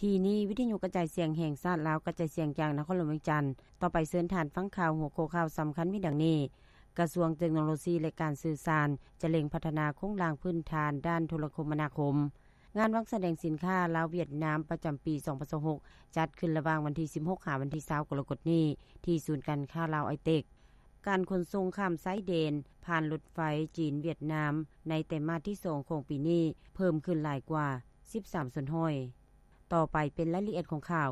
ທີ່ນີ້ ວິທະຍຸກະຈາຍສຽງແຫ່ງຊາດລາວ ກະຈາຍສຽງຈາກນະຄອນຫຼວງວຽງຈັນ. ຕໍ່ໄປເຊີນທ່ານຟັງຂ່າວ ຫົວຂໍ້ຂ່າວສຳຄັນມີດັ່ງນີ້: ກະຊວງເຕັກໂນໂລຊີ ແລະ ການສື່ສານ ຈະເລັງພັດທະນາໂຄງລ່າງພື້ນຖານດ້ານໂທລະຄົມມະນາຄົມ. ງານວັນສະແດງສິນຄ້າລາວ-ຫວຽດນາມ ປະຈຳປີສອງພັນຊາວຫົກ ຈັດຂຶ້ນລະຫວ່າງວັນທີສິບຫົກ ຫາວັນທີຊາວ ກໍລະກົດນີ້ ທີ່ສູນການຄ້າລາວໄອເຕັກ. ການຂົນສົ່ງຂ້າມຊາຍແດນຜ່ານລົດໄຟຈີນ-ຫວຽດນາມ ໃນໄຕມາດທີສອງຂອງປີນີ້ ເພີ່ມຂຶ້ນຫຼາຍກວ່າສິບສາມສ່ວນຮ້ອຍ. ຕໍ່ໄປເປັນລາຍລະອຽດຂອງຂ່າວ.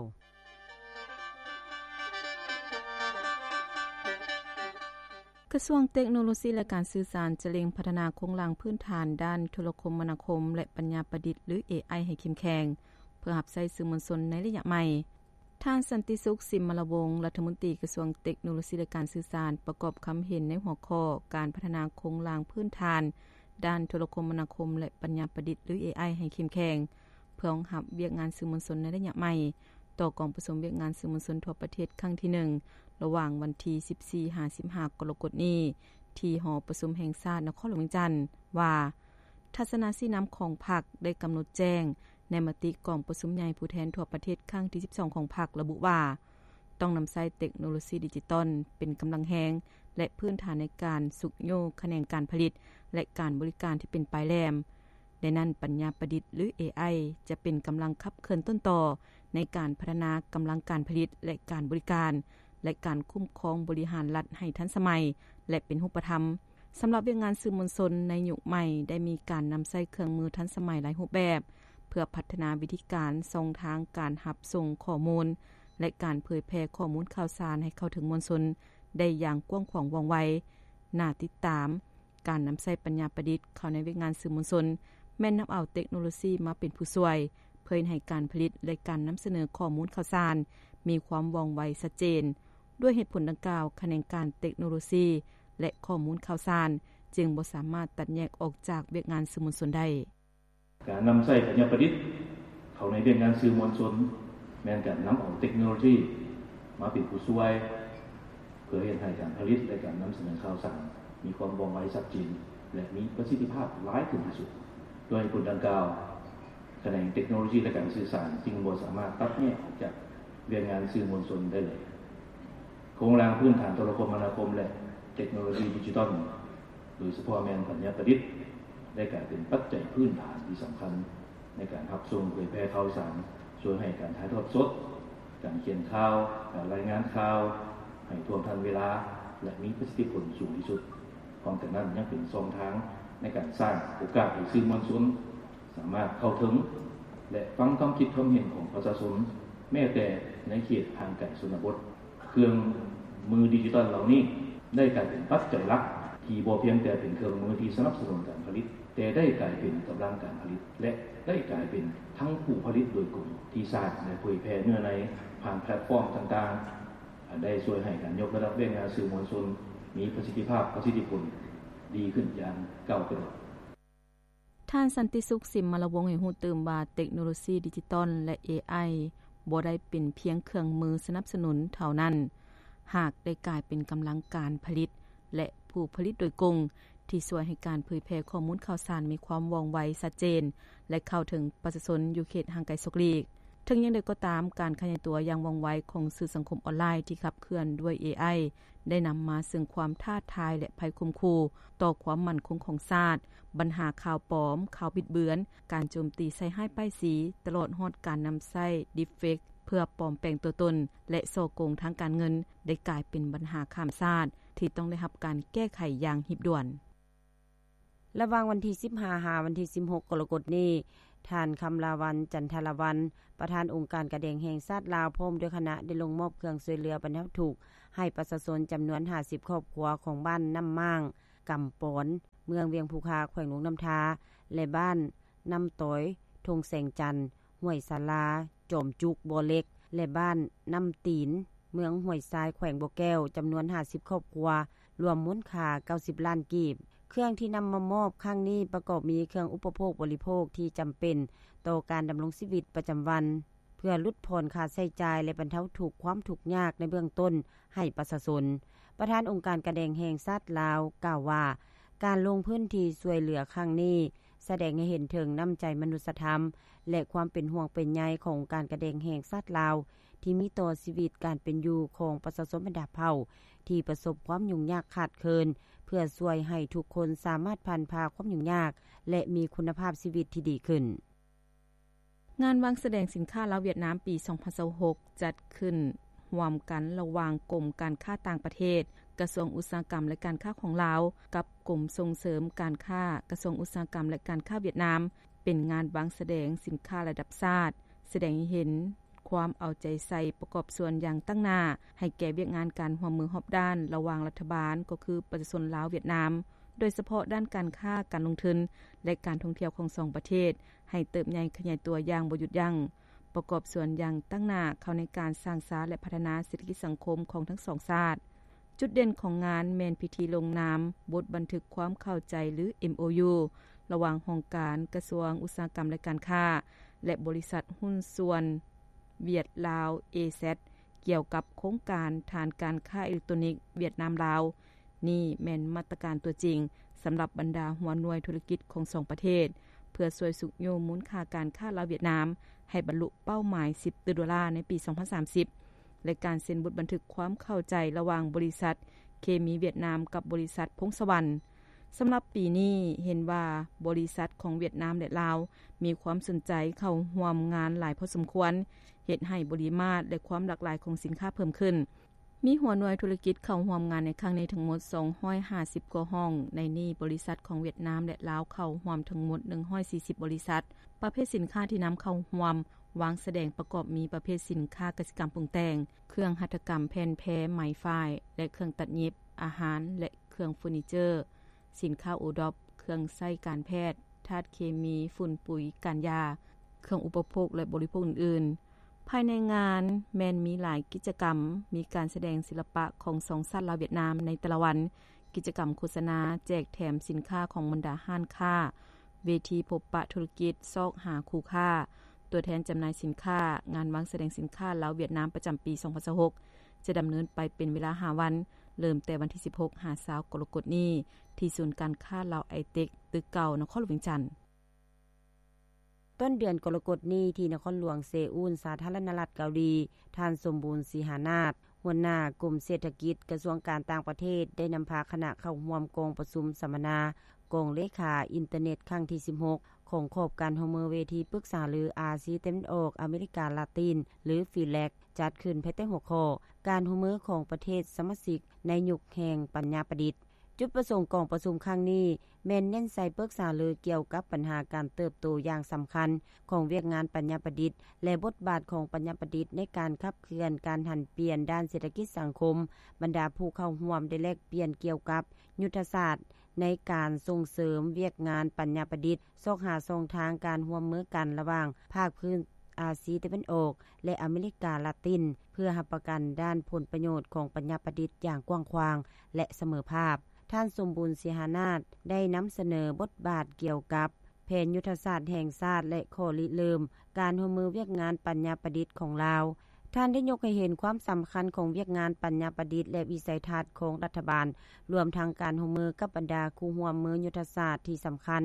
ກະຊວງເຕັກໂນໂລຊີ ແລະ ການສື່ສານ ຈະເລັ່ງພັດທະນາໂຄງລ່າງພື້ນຖານດ້ານໂທລະຄົມມະນາຄົມ ແລະ ປັນຍາປະດິດ ຫຼື ເອໄອ ໃຫ້ເຂັ້ມແຂງ ເພື່ອຮັບໃຊ້ສື່ມວນຊົນໃນໄລຍະໃໝ່. ທ່ານ ສັນຕິສຸກ ສິມມະລະວົງ ລັດຖະມົນຕີກະຊວງເຕັກໂນໂລຊີ ແລະ ການສື່ສານ ປະກອບຄຳເຫັນໃນຫົວຂໍ້ ການພັດທະນາໂຄງລ່າງພື້ນຖານດ້ານໂທລະຄົມມະນາຄົມ ແລະ ປັນຍາປະດິດ ຫຼື ເອໄອ ໃຫ້ເຂັ້ມແຂງ ເພື່ອຮອງຮັບວຽກງານສື່ມວນຊົນໃນໄລຍະໃໝ່ ຕໍ່ກອງປະຊຸມວຽກງານສື່ມວນຊົນທົ່ວປະເທດຄັ້ງທີໜຶ່ງ ລະຫວ່າງວັນທີສິບສີ່ ຫາ ສິບຫ້າ ກໍລະກົດນີ້ ທີ່ຫໍປະຊຸມແຫ່ງຊາດນະຄອນຫຼວງວຽງຈັນ ວ່າ ທັດສະນະຊີ້ນຳຂອງພັກໄດ້ກຳນົດແຈ້ງໃນມະຕິກອງປະຊຸມໃຫຍ່ຜູ້ແທນທົ່ວປະເທດຄັ້ງທີສິບສອງຂອງພັກ ລະບຸວ່າ ຕ້ອງນຳໃຊ້ເຕັກໂນໂລຊີດິຈິຕອນເປັນກຳລັງແຮງ ແລະ ພື້ນຖານໃນການຊຸກຍູ້ຂະແໜງການຜະລິດ ແລະ ການບໍລິການທີ່ເປັນປາຍແຫຼມ. ໃນນັ້ນ ປັນຍາປະດິດ ຫຼື ເອໄອ ຈະເປັນກຳລັງຂັບເຄື່ອນຕົ້ນຕໍໃນການພັດທະນາກຳລັງການຜະລິດ ແລະ ການບໍລິການ ແລະ ການຄຸ້ມຄອງບໍລິຫານລັດໃຫ້ທັນສະໄໝ ແລະ ເປັນຮູບປະທຳ. ສຳລັບວຽກງານສື່ມວນຊົນໃນຍຸກໃໝ່ ໄດ້ມີການນຳໃຊ້ເຄື່ອງມືທັນສະໄໝຫຼາຍຮູບແບບ ເພື່ອພັດທະນາວິທີການ, ຊ່ອງທາງການຮັບສົ່ງຂໍ້ມູນ ແລະ ການເຜີຍແຜ່ຂໍ້ມູນຂ່າວສານໃຫ້ເຂົ້າເຖິງມວນຊົນໄດ້ຢ່າງກວ້າງຂວາງວ່ອງໄວ, ໜ້າຕິດຕາມ. ການນຳໃຊ້ປັນຍາປະດິດເຂົ້າໃນວຽກງານສື່ມວນຊົນ ແມ່ນນຳເອົາເຕັກໂນໂລຊີມາເປັນຜູ້ຊ່ວຍ ເພື່ອເຮັດໃຫ້ການຜະລິດ ແລະ ການນຳສະເໜີຂໍ້ມູນຂ່າວສານມີຄວາມວ່ອງໄວຊັດເຈນ. ດ້ວຍເຫດຜົນດັ່ງກ່າວ, ຂະແໜງການເຕັກໂນໂລຊີ ແລະ ຂໍ້ມູນຂ່າວສານ ຈຶ່ງບໍ່ສາມາດຕັດແຍກອອກຈາກວຽກງານສື່ມວນຊົນໄດ້. ການນຳໃຊ້ປັນຍາປະດິດເຂົ້າໃນວຽກງານສື່ມວນຊົນ ແມ່ນການນຳເອົາເຕັກໂນໂລຊີມາເປັນຜູ້ຊ່ວຍ ເພື່ອເຮັດໃຫ້ການຜະລິດ ແລະ ການນຳສະເໜີຂ່າວສານມີຄວາມວ່ອງໄວຊັດເຈນ ແລະ ມີປະສິດທິພາບຫຼາຍຂຶ້ນທີ່ສຸດ. ດ້ວຍເຫດຜົນດັ່ງກ່າວ, ຂະແໜງເຕັກໂນໂລຊີ ແລະ ການສື່ສານຈຶ່ງບໍ່ສາມາດຕັດແຍກອອກຈາກວຽກງານສື່ມວນຊົນໄດ້ເລີຍ. ໂຄງລ່າງພື້ນຖານໂທລະຄົມມະນາຄົມ ແລະ ເຕັກໂນໂລຊີດິຈິຕອນ ໂດຍສະເພາະແມ່ນປັນຍາປະດິດ ໄດ້ກາຍເປັນປັດໄຈພື້ນຖານທີ່ສຳຄັນໃນການຮັບສົ່ງເຜີຍແຜ່ຂ່າວສານ, ຊ່ວຍໃຫ້ການຖ່າຍທອດສົດ, ການຂຽນຂ່າວ, ການລາຍງານຂ່າວໃຫ້ທ່ວງທັນເວລາ ແລະ ມີປະສິດທິຜົນສູງທີ່ສຸດ. ພ້ອມກັນນັ້ນ ຍັງເປັນຊ່ອງທາງໃນການສ້າງໂອກາດໃຫ້ສື່ມວນຊົນ ສາມາດເຂົ້າເຖິງ ແລະ ຟັງຄວາມຄິດຄວາມເຫັນຂອງປະຊາຊົນ ແມ້ແຕ່ໃນເຂດຫ່າງໄກຊົນນະບົດ. ເຄື່ອງມືດິຈິຕອນເຫຼົ່ານີ້ ໄດ້ກາຍເປັນປັດໄຈຫຼັກ ທີ່ບໍ່ພຽງແຕ່ເປັນເຄື່ອງມືທີ່ສະໜັບສະໜູນການຜະລິດ, ແຕ່ໄດ້ກາຍເປັນກຳລັງການຜະລິດ ແລະ ໄດ້ກາຍເປັນທັງຜູ້ຜະລິດໂດຍກົງ ທີ່ສ້າງ ແລະ ເຜີຍແຜ່ເນື້ອໃນຜ່ານແພລດຟອມຕ່າງໆ, ອັນໄດ້ຊ່ວຍໃຫ້ການຍົກລະດັບວຽກງານສື່ມວນຊົນ ມີປະສິດທິພາບ, ປະສິດທິຜົນດີຂຶ້ນຢ່າງກ້າວກະໂດດ. ທ່ານ ສັນຕິສຸກ ສິມມະລະວົງ ໃຫ້ຮູ້ຕື່ມວ່າ ເຕັກໂນໂລຊີດິຈິຕອນ ແລະ ເອໄອ ບໍ່ໄດ້ເປັນພຽງເຄື່ອງມືສະໜັບສະໜູນເທົ່ານັ້ນ, ຫາກໄດ້ກາຍເປັນກຳລັງການຜະລິດ ແລະ ຜູ້ຜະລິດໂດຍກົງ ທີ່ຊ່ວຍໃຫ້ການເຜີຍແຜ່ຂໍ້ມູນຂ່າວສານມີຄວາມວ່ອງໄວ, ຊັດເຈນ ແລະ ເຂົ້າເຖິງປະຊາຊົນຢູ່ເຂດຫ່າງໄກສອກຫຼີກ. ເຖິງຢ່າງໃດກໍຕາມ, ການຂະຫຍາຍຕົວຢ່າງວ່ອງໄວຂອງສື່ສັງຄົມອອນລາຍທີ່ຂັບເຄື່ອນດ້ວຍເອໄອ ໄດ້ນຳມາເຊິ່ງຄວາມທ້າທາຍ ແລະ ໄພຂົ່ມຂູ່ຕໍ່ຄວາມໝັ້ນຄົງຂອງຊາດ, ບັນຫາຂ່າວປອມ, ຂ່າວບິດເບືອນ, ການໂຈມຕີໃສ່ຮ້າຍປ້າຍສີ, ຕະຫຼອດຮອດການນຳໃຊ້ດີບເຟກເພື່ອປອມແປງຕົວຕົນ ແລະ ສໍ້ໂກງທາງການເງິນ ໄດ້ກາຍເປັນບັນຫາຂ້າມຊາດ ທີ່ຕ້ອງໄດ້ຮັບການແກ້ໄຂຢ່າງຮີບດ່ວນ. ລະຫວ່າງວັນທີສິບຫ້າ ຫາວັນທີສິບຫົກ ກໍລະກົດນີ້, ທ່ານ ຄຳລາວັນ ຈັນທະລາວັນ ປະທານອົງການກາແດງແຫ່ງຊາດລາວ ພ້ອມດ້ວຍຄະນະ ໄດ້ລົງມອບເຄື່ອງຊ່ວຍເຫຼືອບັນເທົາທຸກໃຫ້ປະຊາຊົນຈຳນວນຫ້າສິບຄອບຄົວຂອງບ້ານນ້ຳມ້າງ, ກຳປອນ, ເມືອງວຽງພູຄາ, ແຂວງຫຼວງນ້ຳທາ ແລະ ບ້ານນ້ຳຕອຍ, ທົ່ງແສງຈັນ, ຫ້ວຍສາລາ, ຈອມຈຸກ, ບໍ່ເຫຼັກ ແລະ ບ້ານນ້ຳຕີນ, ເມືອງຫ້ວຍຊາຍ, ແຂວງບໍ່ແກ້ວ ຈຳນວນຫ້າສິບຄອບຄົວ ລວມມູນຄ່າເກົ້າສິບລ້ານກີບ. ເຄື່ອງທີ່ນຳມາມອບຄັ້ງນີ້ປະກອບມີເຄື່ອງອຸປະໂພກບໍລິໂພກທີ່ຈຳເປັນຕໍ່ການດຳລົງຊີວິດປະຈຳວັນ, ເພື່ອຫຼຸດຜ່ອນຄ່າໃຊ້ຈ່າຍ ແລະ ບັນເທົາທຸກຄວາມທຸກຍາກໃນເບື້ອງຕົ້ນໃຫ້ປະຊາຊົນ. ປະທານອົງການກາແດງແຫ່ງຊາດລາວກ່າວວ່າ, ການລົງພື້ນທີ່ຊ່ວຍເຫຼືອຄັ້ງນີ້ ສະແດງໃຫ້ເຫັນເຖິງນ້ຳໃຈມະນຸດສະທຳ ແລະ ຄວາມເປັນຫ່ວງເປັນໃຍຂອງອົງການການແດງແຫ່ງຊາດລາວ ທີ່ມີຕໍ່ຊີວິດການເປັນຢູ່ຂອງປະຊາຊົນບັນດາເຜົ່າ ທີ່ປະສົບຄວາມຫຍຸ້ງຍາກຂາດເຂີນ ເພື່ອຊ່ວຍໃຫ້ທຸກຄົນສາມາດຜ່ານຜ່າຄວາມຫຍຸ້ງຍາກ ແລະ ມີຄຸນນະພາບຊີວິດທີ່ດີຂຶ້ນ. ງານວາງສະແດງສິນຄ້າລາວ-ຫວຽດນາມປີສອງພັນຊາວຫົກ ຈັດຂຶ້ນຮ່ວມກັນລະຫວ່າງກົມການຄ້າຕ່າງປະເທດ, ກະຊວງອຸດສາຫະກຳ ແລະ ການຄ້າຂອງລາວ ກັບກົມສົ່ງເສີມການຄ້າ, ກະຊວງອຸດສາຫະກຳ ແລະ ການຄ້າຫວຽດນາມ ເປັນງານວາງສະແດງສິນຄ້າລະດັບຊາດ, ສະແດງໃຫ້ເຫັນຄວາມເອົາໃຈໃສ່ປະກອບສ່ວນຢ່າງຕັ້ງໜ້າໃຫ້ແກ່ວຽກງານການຮ່ວມມືຮອບດ້ານລະຫວ່າງລັດຖະບານ ກໍຄືປະຊາຊົນລາວ-ຫວຽດນາມ, ໂດຍສະເພາະດ້ານການຄ້າ, ການລົງທຶນ ແລະ ການທ່ອງທ່ຽວຂອງສອງປະເທດ ໃຫ້ເຕີບໃຫຍ່ຂະຫຍາຍຕົວຢ່າງບໍ່ຢຸດຢັ້ງ, ປະກອບສ່ວນຢ່າງຕັ້ງໜ້າເຂົ້າໃນການສ້າງສາ ແລະ ພັດທະນາເສດຖະກິດສັງຄົມຂອງທັງສອງຊາດ. ຈຸດເດັ່ນຂອງງານແມ່ນພິທີລົງນາມບົດບັນທຶກຄວາມເຂົ້າໃຈ ຫຼື ເອັມໂອຢູ ລະຫວ່າງຫ້ອງການກະຊວງອຸດສາຫະກຳ ແລະ ການຄ້າ ແລະ ບໍລິສັດຫຸ້ນສ່ວນຫວຽດລາວ ເອແຊັດ ກ່ຽວກັບໂຄງການຖານການຄ້າເອເລັກໂຕນິກຫວຽດນາມ-ລາວ. ນີ້ແມ່ນມາດຕະການຕົວຈິງສຳລັບບັນດາຫົວໜ່ວຍທຸລະກິດຂອງສອງປະເທດ ເພື່ອຊ່ວຍຊຸກຍູ້ມູນຄ່າການຄ້າລາວ-ຫວຽດນາມ ໃຫ້ບັນລຸເປົ້າໝາຍສິບຕື້ໂດລາໃນປີສອງພັນສາມສິບ ແລະ ການເຊັນບົດບັນທຶກຄວາມເຂົ້າໃຈລະຫວ່າງບໍລິສັດເຄມີຫວຽດນາມກັບບໍລິສັດພົງສະຫວັນ. ສຳລັບປີນີ້ເຫັນວ່າບໍລິສັດຂອງຫວຽດນາມ ແລະ ລາວ ມີຄວາມສົນໃຈເຂົ້າຮ່ວມງານຫຼາຍພໍສົມຄວນ, ເຮັດໃຫ້ປະລິມາດ ແລະ ຄວາມຫຼາກຫຼາຍຂອງສິນຄ້າເພີ່ມຂຶ້ນ. ມີຫົວໜ່ວຍທຸລະກິດເຂົ້າຮ່ວມງານໃນຄັ້ງນີ້ທັງໝົດສອງຮ້ອຍຫ້າສິບກວ່າຫ້ອງ, ໃນນີ້ບໍລິສັດຂອງຫວຽດນາມ ແລະ ລາວເຂົ້າຮ່ວມທັງໝົດໜຶ່ງຮ້ອຍສີ່ສິບບໍລິສັດ. ປະເພດສິນຄ້າທີ່ນຳເຂົ້າຮ່ວມວາງສະແດງປະກອບມີປະເພດສິນຄ້າກະສິກຳປຸງແຕ່ງ, ເຄື່ອງຫັດຖະກຳແຜ່ນແພ, ໄໝຝ້າຍ ແລະ ເຄື່ອງຕັດຫຍິບ, ອາຫານ ແລະ ເຄື່ອງເຟີນີເຈີ, ສິນຄ້າໂອດອບ, ເຄື່ອງໃຊ້ການແພດ, ທາດເຄມີ, ຝຸ່ນປຸຍ, ການຢາ, ເຄື່ອງອຸປະໂພກ ແລະ ບໍລິໂພກອື່ນໆ. ພາຍໃນງານແມ່ນມີຫຼາຍກິດຈະກຳ, ມີການສະແດງສິລະປະຂອງສອງຊາດລາວຫວຽດນາມໃນແຕ່ລະວັນ, ກິດຈະກຳໂຄສະນາ, ແຈກແຖມສິນຄ້າຂອງບັນດາຮ້ານຄ້າ, ເວທີພົບປະທຸລະກິດ, ຊອກຫາຄູ່ຄ້າ, ຕົວແທນຈຳໜ່າຍສິນຄ້າ, ງານວາງສະແດງສິນຄ້າລາວຫວຽດນາມປະຈຳປີສອງພັນຊາວຫົກ ຈະດຳເນີນໄປເປັນເວລາຫ້າວັນ, ເລີ່ມແຕ່ວັນທີສິບຫົກ ຫາ ຊາວ ກໍລະກົດນີ້ ທີ່ສູນການຄ້າລາວໄອເຕັກ ຕຶກເກົ່າ ນະຄອນຫຼວງວຽງຈັນ. ຕົ້ນເດືອນກໍລະກົດນີ້ ທີ່ນະຄອນຫຼວງເຊອູນ ສາທາລະນະລັດເກົາຫຼີ, ທ່ານ ສົມບູນ ສີຫານາດ ຫົວໜ້າກົມເສດຖະກິດ ກະຊວງການຕ່າງປະເທດ ໄດ້ນຳພາຄະນະເຂົ້າຮ່ວມກອງປະຊຸມສຳມະນາກອງເລຂາອິນເຕີເນັດຄັ້ງທີສິບຫົກ ຂອງຂອບການຮ່ວມມືເວທີປຶກສາຫາລືອາຊີຕາເວັນອອກອາເມລິກາລາຕິນ ຫຼື ຟີແລັກ ຈັດຂຶ້ນພາຍໃຕ້ຫົວຂໍ້ ການຮ່ວມມືຂອງປະເທດສະມາຊິກໃນຍຸກແຫ່ງປັນຍາປະດິດ. ຈຸດປະສົງຂອງກອງປະຊຸມຄັ້ງນີ້ ແມ່ນເນັ້ນໃສ່ປຶກສາຫາລືກ່ຽວກັບບັນຫາການເຕີບໂຕຢ່າງສຳຄັນຂອງວຽກງານປັນຍາປະດິດ ແລະ ບົດບາດຂອງປັນຍາປະດິດໃນການຂັບເຄື່ອນການຫັນປ່ຽນດ້ານເສດຖະກິດສັງຄົມ. ບັນດາຜູ້ເຂົ້າຮ່ວມໄດ້ແລກປ່ຽນກ່ຽວກັບຍຸດທະສາດໃນການສົ່ງເສີມວຽກງານປັນຍາປະດິດ, ຊອກຫາຊ່ອງທາງການຮ່ວມມືກັນລະຫວ່າງພາກພື້ນອາຊີຕາເວັນອອກ ແລະ ອາເມລິກາລາຕິນ ເພື່ອຮັບປະກັນດ້ານຜົນປະໂຫຍດຂອງປັນຍາປະດິດຢ່າງກວ້າງຂວາງ ແລະ ສະເໝີພາບ. ທ່ານ ສົມບູນ ສີຫານາດ ໄດ້ນຳສະເໜີບົດບາດກ່ຽວກັບແຜນຍຸດທະສາດແຫ່ງຊາດ ແລະ ຂໍ້ລິເລີ່ມການຮ່ວມມືວຽກງານປັນຍາປະດິດຂອງລາວ. ທ່ານໄດ້ຍົກໃຫ້ເຫັນຄວາມສຳຄັນຂອງວຽກງານປັນຍາປະດິດ ແລະ ວິໄສທັດຂອງລັດຖະບານ, ລວມທັງການຮ່ວມມືກັບບັນດາຄູ່ຮ່ວມມືຍຸດທະສາດທີ່ສຳຄັນ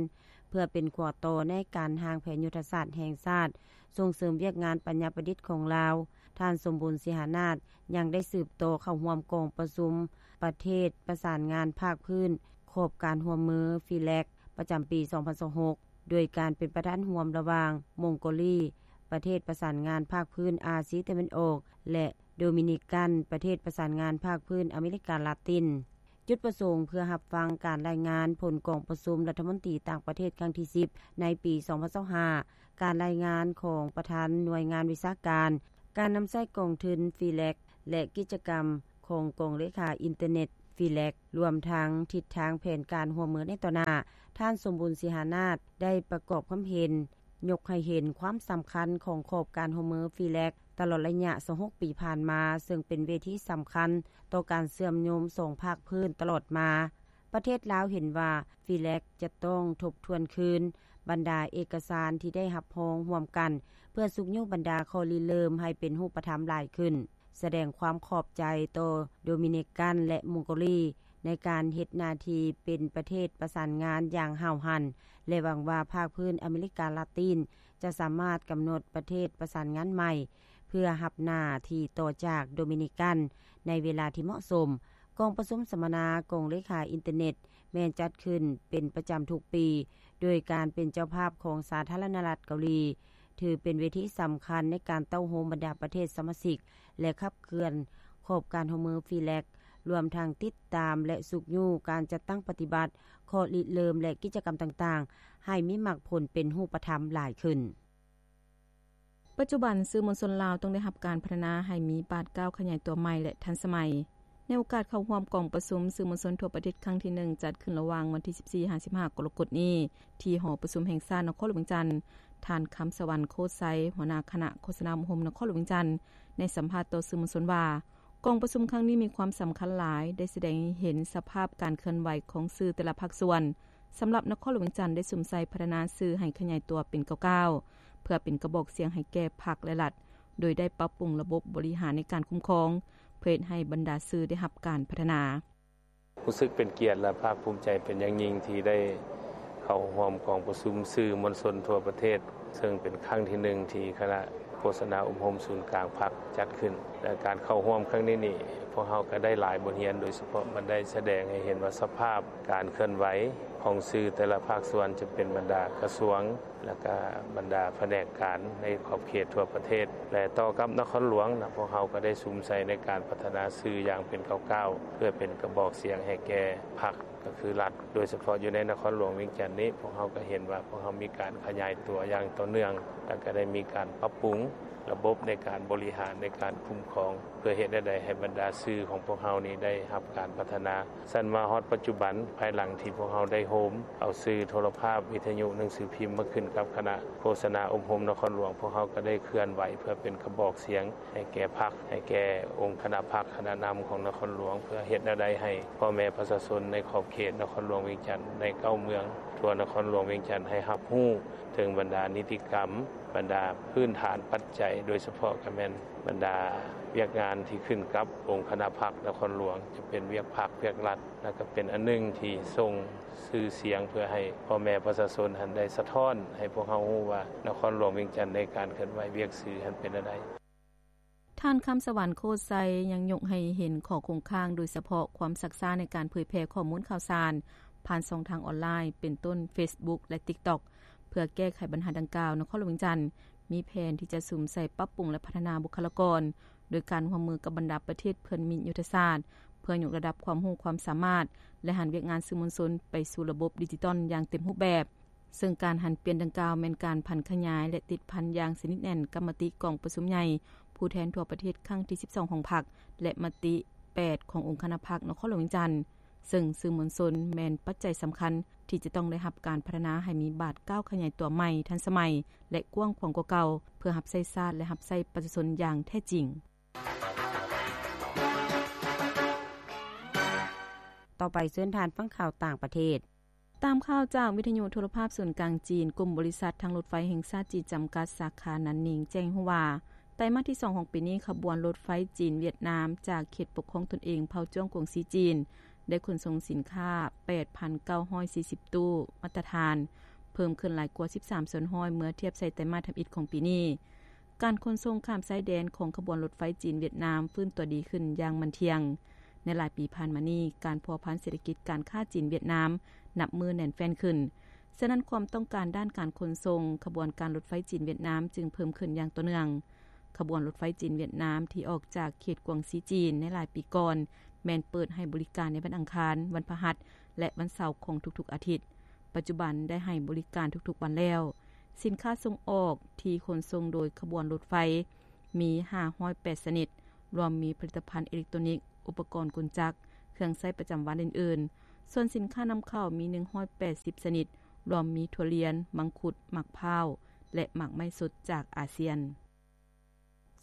ເພື່ອເປັນຂົວຕໍ່ໃນການຮ່າງແຜນຍຸດທະສາດແຫ່ງຊາດ ສົ່ງເສີມວຽກງານປັນຍາປະດິດຂອງລາວ. ທ່ານ ສົມບູນ ສີຫານາດ ຍັງໄດ້ສືບຕໍ່ເຂົ້າຮ່ວມກອງປະຊຸມປະເທດປະສານງານພາກພື້ນຂອບການຮ່ວມມື ຟີແລັກ ປະຈຳປີສອງພັນຊາວຫົກ ໂດຍການເປັນປະທານຮ່ວມລະຫວ່າງມົງໂກລີ ປະເທດປະສານງານພາກພື້ນອາຊີຕາເວັນອອກ ແລະ ໂດມິນິກັນ ປະເທດປະສານງານພາກພື້ນອາເມລິກາລາຕິນ. ຈຸດປະສົງເພື່ອຮັບຟັງການລາຍງານຜົນກອງປະຊຸມລັດຖະມົນຕີຕ່າງປະເທດຄັ້ງທີສິບ ໃນປີສອງພັນຊາວຫ້າ, ການລາຍງານຂອງປະທານໜ່ວຍງານວິຊາການ, ການນຳໃຊ້ກອງທຶນ ຟີແລັກ ແລະ ກິດຈະກຳຂອງກອງເລຂາອິນເຕີເນັດ ຟີແລັກ ລວມທັງທິດທາງແຜນການຮ່ວມມືໃນຕໍ່ໜ້າ. ທ່ານ ສົມບູນ ສີຫານາດ ໄດ້ປະກອບຄວາມເຫັນ ຍົກໃຫ້ເຫັນຄວາມສຳຄັນຂອງຂອບການຮ່ວມມື ຟີແລັກ ຕະຫຼອດໄລຍະຊາວຫົກປີຜ່ານມາ, ເຊິ່ງເປັນເວທີສຳຄັນຕໍ່ການເຊື່ອມໂຍງສອງພາກພື້ນຕະຫຼອດມາ. ປະເທດລາວເຫັນວ່າ ຟີແລັກ ຈະຕ້ອງທົບທວນຄືນບັນດາເອກະສານທີ່ໄດ້ຮັບຮອງຮ່ວມກັນ ເພື່ອຊຸກຍູ້ບັນດາຂໍ້ລິເລີ່ມໃຫ້ເປັນຮູບປະທຳຫຼາຍຂຶ້ນ, ສະແດງຄວາມຂອບໃຈຕໍ່ໂດມິນິກັນ ແລະ ມົງໂກລີ ໃນການເຮັດໜ້າທີ່ເປັນປະເທດປະສານງານຢ່າງຫ້າວຫັນ ແລະ ຫວັງວ່າພາກພື້ນອາເມລິກາລາຕິນຈະສາມາດກຳນົດປະເທດປະສານງານໃໝ່ ເພື່ອຮັບໜ້າທີ່ຕໍ່ຈາກໂດມິນິກັນໃນເວລາທີ່ເໝາະສົມ. ກອງປະຊຸມສຳມະນາກອງເລຂາອິນເຕີເນັດ ແມ່ນຈັດຂຶ້ນເປັນປະຈຳທຸກປີ ໂດຍການເປັນເຈົ້າພາບຂອງສາທາລະນະລັດເກົາຫຼີ ຖືເປັນເວທີສຳຄັນໃນການເຕົ້າໂຮມບັນດາປະເທດສະມາຊິກ ແລະ ຂັບເຄື່ອນຂອບການຮ່ວມມື FLEGT ລວມທັງຕິດຕາມ ແລະ ຊຸກຍູ້ການຈັດຕັ້ງປະຕິບັດຂໍ້ລິເລີ່ມ ແລະ ກິດຈະກຳຕ່າງໆ ໃຫ້ມີໝາກຜົນເປັນຮູບປະທຳຫຼາຍຂຶ້ນ. ປັດຈຸບັນ ສື່ມວນຊົນລາວຕ້ອງໄດ້ຮັບການພັດທະນາໃຫ້ມີບາດກ້າວຂະຫຍາຍຕົວໃໝ່ ແລະ ທັນສະໄໝ. ໃນໂອກາດເຂົ້າຮ່ວມກອງປະຊຸມສື່ມວນຊົນທົ່ວປະເທດຄັ້ງທີໜຶ່ງ ຈັດຂຶ້ນລະຫວ່າງວັນທີສິບສີ່ຫາສິບຫ້າກໍລະກົດນີ້ ທີ່ຫໍປະຊຸມແຫ່ງຊາດນະຄອນຫຼວງວຽງຈັນ, ທ່ານ ຄຳສະຫວັນ ໂຄດໄຊ ຫົວໜ້າຄະນະໂຄສະນາອົບຮົມນະຄອນຫຼວງວຽງຈັນ ໄດ້ສຳພາດຕໍ່ສື່ມວນຊົນວ່າ ກອງປະຊຸມຄັ້ງນີ້ມີຄວາມສຳຄັນຫຼາຍ, ໄດ້ສະແດງໃຫ້ເຫັນສະພາບການເຄື່ອນໄຫວຂອງສື່ແຕ່ລະພາກສ່ວນ. ສຳລັບນະຄອນຫຼວງວຽງຈັນໄດ້ສຸມໃສ່ພັດທະນາສື່ໃຫ້ຂະຫຍາຍຕົວເປັນກ້າວໆ ເພື່ອເປັນກະບອກສຽງໃຫ້ແກ່ພັກ ແລະ ລັດ, ໂດຍໄດ້ປັບປຸງລະບົບບໍລິຫານໃນການຄຸ້ມຄອງ ເພື່ອເຮັດໃຫ້ບັນດາສື່ໄດ້ຮັບການພັດທະນາ. ຮູ້ສຶກເປັນກຽດ ແລະ ພາກພູມໃຈເປັນຢ່າງຍິ່ງທີ່ໄດ້ເຂົ້າຮ່ວມກອງປະຊຸມສື່ມວນຊົນທົ່ວປະເທດ ເຊິ່ງເປັນຄັ້ງທີໜຶ່ງທີ່ຄະນະໂຄສະນາອົບຮົມສູນກາງພັກຈັດຂຶ້ນ ແລະ ການເຂົ້າຮ່ວມຄັ້ງນີ້ນີ້ ພວກເຮົາກໍໄດ້ຫຼາຍບົດຮຽນ, ໂດຍສະເພາະມັນໄດ້ສະແດງໃຫ້ເຫັນວ່າສະພາບການເຄື່ອນໄຫວຂອງສື່ແຕ່ລະພາກສ່ວນ ຈະເປັນບັນດາກະຊວງ ແລະ ກະບັນດາພະແນກການໃນຂອບເຂດທົ່ວປະເທດ ແລະ ຕໍ່ກັບນະຄອນຫຼວງນະ ພວກເຮົາກໍໄດ້ສຸມໃສ່ໃນການພັດທະນາສື່ຢ່າງເປັນກ້າວໆ ເພື່ອເປັນກະບອກສຽງໃຫ້ແກ່ພັກ ກໍຄືລັດ, ໂດຍສະເພາະຢູ່ໃນນະຄອນຫຼວງວຽງຈັນນີ້ ພວກເຮົາກໍເຫັນວ່າພວກເຮົາມີການຂະຫຍາຍຕົວຢ່າງຕໍ່ເນື່ອງ ແລະ ກໍໄດ້ມີການປັບປຸງລະບົບໃນການບໍລິຫານ ໃນການຄຸ້ມຄອງ ເພື່ອເຮັດແນວໃດໃຫ້ບັນດາສື່ຂອງພວກເຮົານີ້ໄດ້ຮັບການພັດທະນາ. ຊັ້ນມາຮອດປັດຈຸບັນ, ພາຍຫຼັງທີ່ພວກເຮົາໄດ້ໂຮມເອົາສື່ໂທລະພາບ, ວິທະຍຸ, ໜັງສືພິມມາຂຶ້ນກັບຄະນະໂຄສະນາອົບຮົມນະຄອນຫຼວງ, ພວກເຮົາກໍໄດ້ເຄື່ອນໄຫວເພື່ອເປັນກະບອກສຽງ ໃຫ້ແກ່ພັກ, ໃຫ້ແກ່ອົງຄະນະພັກ, ຄະນະນຳຂອງນະຄອນຫຼວງ ເພື່ອເຮັດແນວໃດໃຫ້ພໍ່ແມ່ປະຊາຊົນໃນຂອບເຂດນະຄອນຫຼວງວຽງຈັນ ໃນເກົ້າເມືອງທົ່ວນະຄອນຫຼວງວຽງຈັນ ໃຫ້ຮັບຮູ້ເຖິງບັນດານິຕິກຳ, ບັນດາພື້ນຖານປັດໄຈ, ໂດຍສະເພາະກໍແມ່ນບັນດາວຽກງານທີ່ຂຶ້ນກັບອົງຄະນະພັກນະຄອນຫຼວງ, ຈະເປັນວຽກພັກ, ວຽກລັດ, ແລ້ວກໍເປັນອັນໜຶ່ງທີ່ສົ່ງຊື່ສຽງ ເພື່ອໃຫ້ພໍ່ແມ່ປະຊາຊົນຫັ້ນໄດ້ສະທ້ອນໃຫ້ພວກເຮົາຮູ້ວ່າ ນະຄອນຫຼວງວຽງຈັນໃນການເຄື່ອນໄຫວວຽກສື່ຫັ້ນເປັນແນວໃດ. ທ່ານ ຄຳສະຫວັນ ໂຄດໄຊ ຍັງຍົກໃຫ້ເຫັນຂໍ້ຄົງຄ້າງ, ໂດຍສະເພາະຄວາມຊັກຊ້າໃນການເຜີຍແຜ່ຂໍ້ມູນຂ່າວສານຜ່ານຊ່ອງທາງອອນລາຍ ເປັນຕົ້ນ ເຟສບຸກ ແລະ ຕິກຕັອກ ເພື່ອແກ້ໄຂບັນຫາດັ່ງກ່າວ, ນະຄອນຫຼວງວຽງຈັນມີແຜນທີ່ຈະສຸມໃສ່ປັບປຸງ ແລະ ພັດທະນາບຸກຄະລາກອນ ໂດຍການຮ່ວມມືກັບບັນດາປະເທດເພື່ອນມິດຍຸດທະສາດ ເພື່ອຍົກລະດັບຄວາມຮູ້ຄວາມສາມາດ ແລະ ຫັນວຽກງານສື່ມວນຊົນໄປສູ່ລະບົບດິຈິຕອນຢ່າງເຕັມຮູບແບບ. ເຊິ່ງການຫັນປ່ຽນດັ່ງກ່າວແມ່ນການຜັນຂະຫຍາຍ ແລະ ຕິດພັນຢ່າງສະໜິດແໜ້ນກັບມະຕິກອງປະຊຸມໃຫຍ່ຜູ້ແທນທົ່ວປະເທດຄັ້ງທີສິບສອງຂອງພັກ ແລະ ມະຕິແປດຂອງອົງຄະນະພັກນະຄອນຫຼວງວຽງຈັນ, ເຊິ່ງສື່ມວນຊົນແມ່ນປັດໄຈສຳຄັນທີ່ຈະຕ້ອງໄດ້ຮັບການພັດທະນາໃຫ້ມີບາດກ້າວຂະຫຍາຍຕົວໃໝ່, ທັນສະໄໝ ແລະ ກວ້າງຂວາງກວ່າເກົ່າ ເພື່ອຮັບໃຊ້ຊາດ ແລະ ຮັບໃຊ້ປະຊາຊົນຢ່າງແທ້ຈິງ. ຕໍ່ໄປເຊີນທ່ານຟັງຂ່າວຕ່າງປະເທດ. ຕາມຂ່າວຈາກວິທະຍຸໂທລະພາບສູນກາງຈີນ, ກຸ່ມບໍລິສັດທາງລົດໄຟແຫ່ງຊາດຈີນຈຳກັດ ສາຂາໜານໜິງ ແຈ້ງໃຫ້ຮູ້ວ່າ ໄຕມາດທີສອງຂອງປີນີ້, ຂະບວນລົດໄຟຈີນ-ຫວຽດນາມ ຈາກເຂດປົກຄອງຕົນເອງເຜົ່າຈ້ວງກວາງຊີຈີນ ໄດ້ຂົນສົ່ງສິນຄ້າ ແປດພັນເກົ້າຮ້ອຍສີ່ສິບຕູ້ມາດຕະຖານ, ເພີ່ມຂຶ້ນຫຼາຍກວ່າສິບສາມສ່ວນຮ້ອຍ ເມື່ອທຽບໃສ່ໄຕມາດທຳອິດຂອງປີນີ້. ການຂົນສົ່ງຂ້າມຊາຍແດນຂອງຂະບວນລົດໄຟຈີນ-ຫວຽດນາມຟື້ນຕົວດີຂຶ້ນຢ່າງໝັ້ນທ່ຽງ. ໃນຫຼາຍປີຜ່ານມານີ້, ການພົວພັນເສດຖະກິດການຄ້າຈີນ-ຫວຽດນາມນັບມື້ແໜ້ນແຟ້ນຂຶ້ນ. ສະນັ້ນ, ຄວາມຕ້ອງການດ້ານການຂົນສົ່ງຂະບວນການລົດໄຟຈີນ-ຫວຽດນາມຈຶ່ງເພີ່ມຂຶ້ນຢ່າງຕໍ່ເນື່ອງ. ຂະບວນລົດໄຟຈີນ-ຫວຽດນາມທີ່ອອກຈາກເຂດກວາງຊີຈີນໃນຫຼາຍປີກ່ອນ ແມ່ນເປີດໃຫ້ບໍລິການໃນວັນອັງຄານ, ວັນພະຫັດ ແລະ ວັນເສົາຂອງທຸກໆອາທິດ. ປັດຈຸບັນໄດ້ໃຫ້ບໍລິການທຸກໆວັນແລ້ວ. ສິນຄ້າສົ່ງອອກທີ່ຂົນສົ່ງໂດຍຂະບວນລົດໄຟມີຫ້າຮ້ອຍແປດຊະນິດ, ລວມມີຜະລິດຕະພັນເອເລັກໂຕນິກ, ອຸປະກອນກົນຈັກ, ເຄື່ອງໃຊ້ປະຈຳວັນອື່ນໆ. ສ່ວນສິນຄ້ານຳເຂົ້າມີໜຶ່ງຮ້ອຍແປດສິບຊະນິດ, ລວມມີຖົ່ວລຽນ, ມັງຄຸດ, ໝາກພ້າວ ແລະ ໝາກໄມ້ສົດຈາກອາຊຽນ.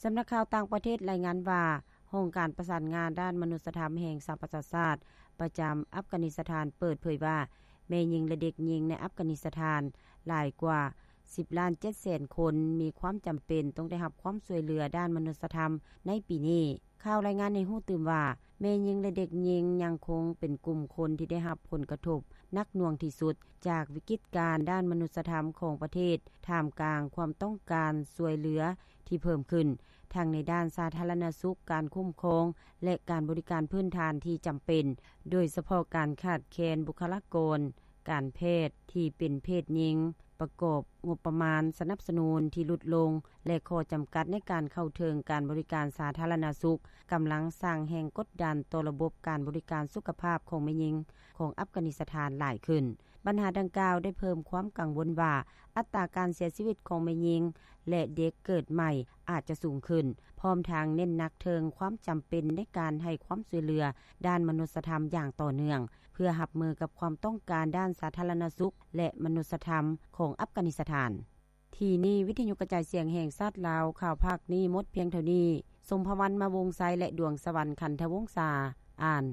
ສຳນັກຂ່າວຕ່າງປະເທດລາຍງານວ່າ, ຫ້ອງການປະສານງານດ້ານມະນຸດສະທຳແຫ່ງສະຫະປະຊາຊາດ ປະຈຳອັຟການິສະຖານ ເປີດເຜີຍວ່າ ແມ່ຍິງ ແລະ ເດັກຍິງໃນອັຟການິສະຖານຫຼາຍກວ່າສິບລ້ານເຈັດແສນຄົນ ມີຄວາມຈຳເປັນຕ້ອງໄດ້ຮັບຄວາມຊ່ວຍເຫຼືອດ້ານມະນຸດສະທຳໃນປີນີ້. ຂ່າວລາຍງານໃຫ້ຮູ້ຕື່ມວ່າ ແມ່ຍິງ ແລະ ເດັກຍິງ ຍັງຄົງເປັນກຸ່ມຄົນທີ່ໄດ້ຮັບຜົນກະທົບໜັກໜ່ວງທີ່ສຸດ ຈາກວິກິດການດ້ານມະນຸດສະທຳຂອງປະເທດ ທ່າມກາງຄວາມຕ້ອງການຊ່ວຍເຫຼືອທີ່ເພີ່ມຂຶ້ນ ທັງໃນດ້ານສາທາລະນະສຸກ, ການຄຸ້ມຄອງ ແລະ ການບໍລິການພື້ນຖານທີ່ຈຳເປັນ ໂດຍສະເພາະການຂາດແຄນບຸກຄະລາກອນການແພດທີ່ເປັນເພດຍິງ, ປະກອບງົບປະມານສະໜັບສະໜູນທີ່ຫຼຸດລົງ ແລະ ຂໍ້ຈຳກັດໃນການເຂົ້າເຖິງການບໍລິການສາທາລະນະສຸກ ກຳລັງສ້າງແຮງກົດດັນຕໍ່ລະບົບການບໍລິການສຸຂະພາບຂອງແມ່ຍິງຂອງອັຟການິສະຖານຫຼາຍຂຶ້ນ. ບັນຫາດັ່ງກ່າວໄດ້ເພີ່ມຄວາມກັງວົນວ່າ ອັດຕາການເສຍຊີວິດຂອງແມ່ຍິງ ແລະ ເດັກເກີດໃໝ່ອາດຈະສູງຂຶ້ນ, ພ້ອມທັງເນັ້ນໜັກເຖິງຄວາມຈຳເປັນໃນການໃຫ້ຄວາມຊ່ວຍເຫຼືອດ້ານມະນຸດສະທຳຢ່າງຕໍ່ເນື່ອງ ເພື່ອຮັບມືກັບຄວາມຕ້ອງການດ້ານສາທາລະນະສຸກ ແລະ ມະນຸດສະທຳຂອງອັຟການິສະຖານ. ທີ່ນີ້ ວິທະຍຸກະຈາຍສຽງແຫ່ງຊາດລາວ ຂ່າວພາກນີ້ໝົດພຽງເທົ່ານີ້. ສົມພະວັນ ມາວົງໄຊ ແລະ ດວງສະຫວັນ ຄັນທະວົງສາ ອ່ານ.